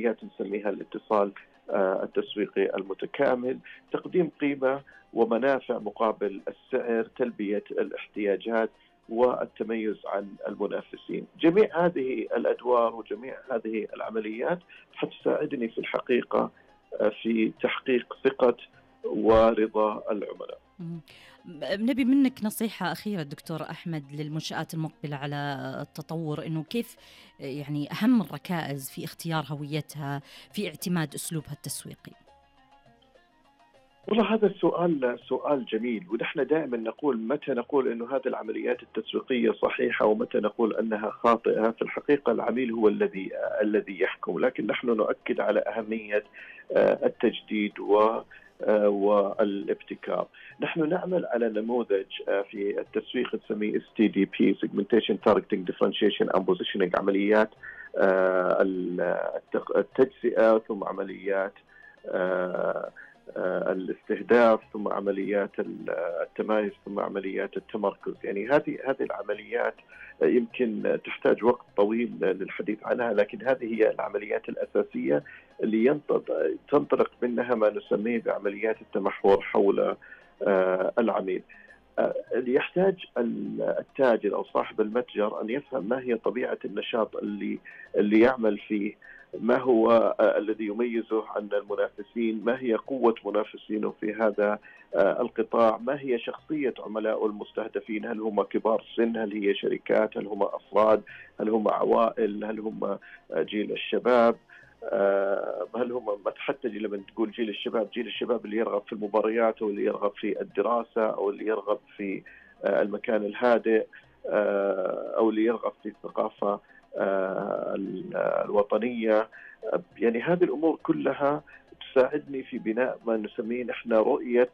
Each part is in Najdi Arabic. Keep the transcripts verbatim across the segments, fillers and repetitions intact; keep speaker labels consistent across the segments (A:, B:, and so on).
A: نسميها الاتصال آه، التسويقي المتكامل، تقديم قيمة ومنافع مقابل السعر، تلبية الاحتياجات والتميز عن المنافسين. جميع هذه الأدوار وجميع هذه العمليات حتساعدني في الحقيقة آه، في تحقيق ثقة ورضا العملاء.
B: مم. نبي منك نصيحة أخيرة دكتور أحمد للمنشآت المقبلة على التطور، إنه كيف يعني أهم الركائز في اختيار هويتها، في اعتماد أسلوبها التسويقي.
A: والله هذا السؤال سؤال جميل، ونحن دائما نقول متى نقول أنه هذه العمليات التسويقية صحيحة ومتى نقول أنها خاطئة. في الحقيقة العميل هو الذي الذي يحكم، لكن نحن نؤكد على أهمية التجديد و والابتكار. نحن نعمل على نموذج في التسويق نسميه إس تي دي بي Segmentation Targeting Differentiation and Positioning، عمليات التجزئة ثم عمليات الاستهداف ثم عمليات التمايز ثم عمليات التمركز. يعني هذه هذه العمليات يمكن تحتاج وقت طويل للحديث عنها، لكن هذه هي العمليات الأساسية اللي تنطلق منها ما نسميه بعمليات التمحور حول العميل. اللي يحتاج التاجر أو صاحب المتجر أن يفهم ما هي طبيعة النشاط اللي اللي يعمل فيه، ما هو الذي يميزه عن المنافسين، ما هي قوة منافسينه في هذا القطاع، ما هي شخصية عملاء المستهدفين، هل هم كبار سن، هل هي شركات، هل هم أفراد، هل هم عوائل، هل هم جيل الشباب، هل هم حتى لما تقول جيل الشباب، جيل الشباب اللي يرغب في المباريات أو اللي يرغب في الدراسة أو اللي يرغب في المكان الهادئ أو اللي يرغب في الثقافة الوطنية. يعني هذه الأمور كلها تساعدني في بناء ما نسميه نحن رؤية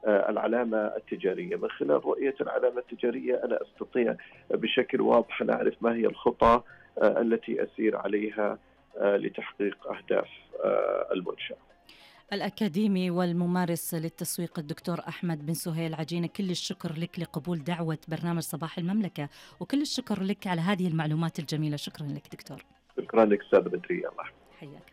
A: العلامة التجارية. من خلال رؤية العلامة التجارية أنا أستطيع بشكل واضح أن أعرف ما هي الخطى التي أسير عليها لتحقيق أهداف المنشأة.
B: الأكاديمي والممارس للتسويق الدكتور أحمد بن سهيل عجينة، كل الشكر لك لقبول دعوة برنامج صباح المملكة، وكل الشكر لك على هذه المعلومات الجميلة. شكرا لك دكتور.
A: شكرا لك أستاذ بدرية. الله
B: حياك.